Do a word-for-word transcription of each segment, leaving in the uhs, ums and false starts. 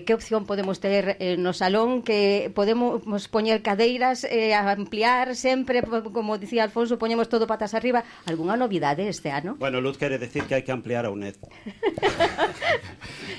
eh, que opción podemos ter eh, no salón, que podemos poñer cadeiras, eh, ampliar sempre, como dicía Alfonso, poñemos todo patas arriba. Algúnha novidade este ano? Bueno, Luz quere decir que hai que ampliar a U N E D.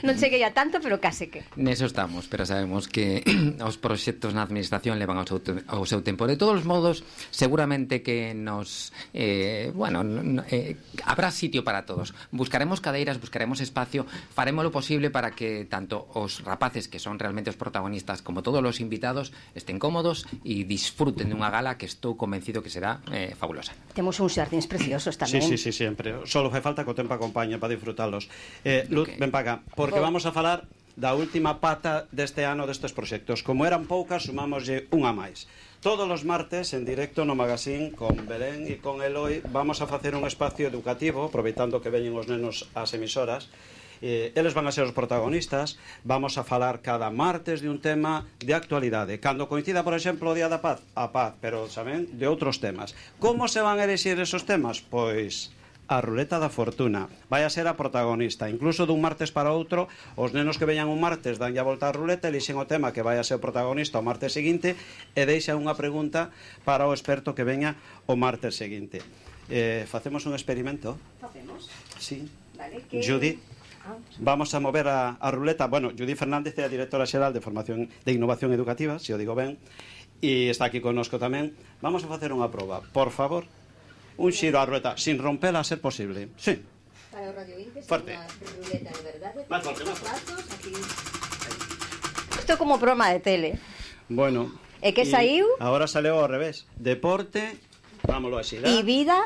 Non cheguei a tanto, pero case que. Neso estamos, pero sabemos que os proxectos na administración levan ao seu, ao seu tempo. De todos modos, seguramente que nos eh, bueno, eh, habrá sitio para todos. Buscaremos cadeiras, buscaremos espacio, faremos lo posible para que tanto os rapaces, que son realmente os protagonistas, como todos os invitados, estén cómodos e disfruten dunha gala que estou convencido que será eh, fabulosa. Temos uns xardíns preciosos tamén. Sí, sí, sí, sempre. Solo fai falta que o tempo acompañe para disfrutalos. Eh, Luz, okay. Ven para acá, porque vamos a falar da última pata deste ano destes proxectos. Como eran poucas, sumámoslle unha máis. Todos os martes, en directo no Magazín, con Belén e con Eloi, vamos a facer un espacio educativo, aproveitando que veñen os nenos ás emisoras. Eh, eles van a ser os protagonistas. Vamos a falar cada martes de un tema de actualidade. Cando coincida, por exemplo, o Día da Paz, a paz, pero saben, de outros temas. Como se van a elixir esos temas? Pois a ruleta da fortuna vai a ser a protagonista. Incluso dun martes para outro, os nenos que veñan un martes danlle a volta a ruleta, elixen o tema que vai a ser o protagonista o martes seguinte e deixan unha pregunta para o experto que veña o martes seguinte. Eh, facemos un experimento? Facemos? Sí. Vale, que... Judith, vamos a mover a, a ruleta. Bueno, Judith Fernández é a directora xeral de Formación de Innovación Educativa, se o digo ben, e está aquí connosco tamén. Vamos a facer unha proba. Por favor, un xiro á ruleta, sin rompela a ser posible. Sí. Para o Radio veinte, fuerte. Unha ruleta de verdade. Más fuerte, más fuerte. Isto é como broma de tele. Bueno. E que saiu? Agora saleu ao revés. Deporte, vámoslo así, e vida.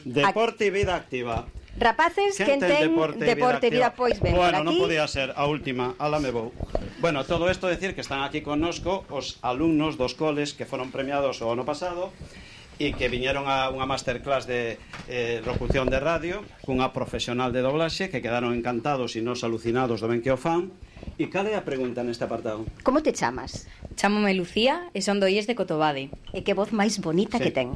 Deporte e vida activa. Rapaces, quen ten deporte, deporte e vida, vida, pois ben bueno, por aquí. Non podía ser a última, ala me vou. Bueno, todo isto decir que están aquí connosco os alumnos dos coles que foron premiados o ano pasado e que viñeron a unha masterclass de eh, locución de radio cunha profesional de doblaxe que quedaron encantados e nos alucinados do ben que o fan. E cal é a pregunta neste apartado? Como te chamas? Chámome Lucía e son do I E S de Cotobade. E que voz máis bonita sí. que ten.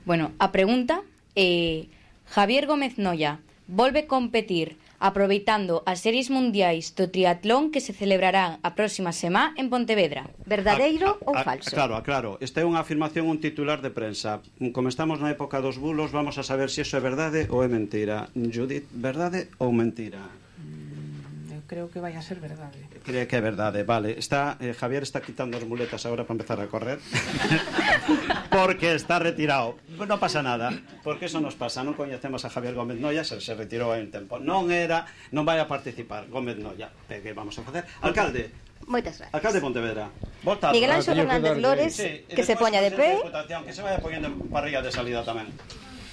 Bueno, a pregunta é: Javier Gómez Noya volve competir aproveitando as series mundiais do triatlón que se celebrarán a próxima semana en Pontevedra. Verdadeiro a, a, ou a, falso? Claro, claro. Esta é unha afirmación, un titular de prensa. Como estamos na época dos bulos, vamos a saber se iso é verdade ou é mentira. Judith, verdade ou mentira? Creo que vai a ser verdade. Creo que é verdade, vale. Está, eh, Javier está quitando as muletas agora para empezar a correr. Porque está retirado. Non pasa nada, porque eso nos pasa. Non coñecemos a Javier Gómez Noya, se, se retirou hai un tempo. Non era, non vai a participar Gómez Noya. Que vamos a facer? Alcalde. Moitas gracias. Alcalde de Pontevedra. Volta. Miguel Anxo Fernández Lores, sí, que se poña de pé. Que se vaya poñendo en parrilla de salida tamén.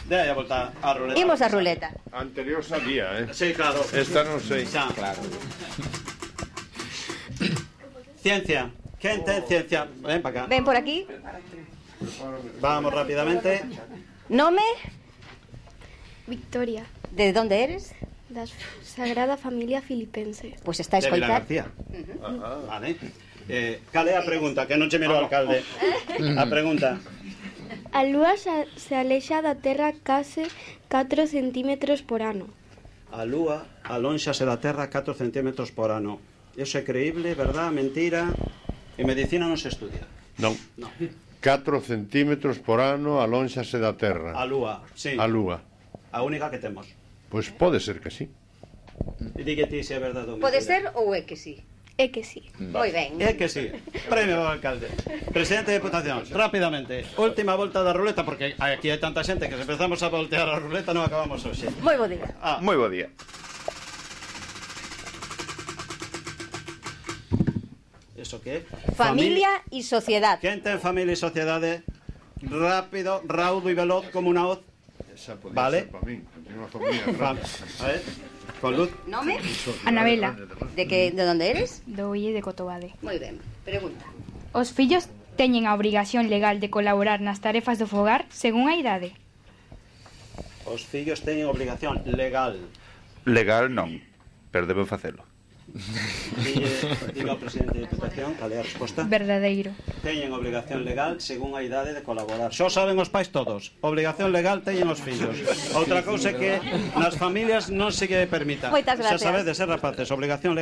De aí a volta a ruleta. Imos a ruleta. Anterior sabía, eh? Sí, claro. Esta non sei. Xa. Claro. Ciencia. Quen ten ciencia? Ven para acá. Ven por aquí. Vamos rápidamente. Nome? Victoria, De onde eres? da Sagrada Familia Filipense. Pois pues está a De escoitar. Vilagarcía. Uh-huh. Vale. Eh, cal é a pregunta? Que non che miro o alcalde. A pregunta. A Lúa xa, se alexa da Terra case catro centímetros por ano. A Lúa alónxase da Terra catro centímetros por ano. Eso é creíble, verdad, mentira? En medicina non se estudia. Non. No. catro centímetros por ano alónxase da Terra. A Lúa, sí. A Lúa. A única que temos. Pois pode ser que sí. E di que ti se é verdade ou mentira. Pode ser ou é que sí? É que sí. Moi ben. É que sí. Premio ao alcalde. Presidente de Diputación, rápidamente. Última volta da ruleta, porque aquí hai tanta xente que se empezamos a voltear a ruleta non acabamos hoxe. Moi bo día. Ah, Moi bo día. Eso que é? Familia e sociedade. Quen ten familia e sociedade? Rápido, raudo e veloz como unha hoz. Esa podía Vale. ser para min. Tengo unha familia Va, rápida. a ver, con luz. Nome? Anabela, De que de onde eres? do I E S de Cotobade. Moi ben. Pregunta. Os fillos teñen a obrigación legal de colaborar nas tarefas do fogar según a idade? Os fillos teñen obligación legal. Legal non, pero deben facelo. Dille, diga ao presidente de Diputación cal é a resposta. Verdadeiro. Teñen obligación legal según a idade de colaborar. Xo saben os pais todos. Obligación legal teñen os fillos. Outra cousa é que nas familias non se lle permita. Moitas Xa gracias. sabedes, ser rapaces, obligación legal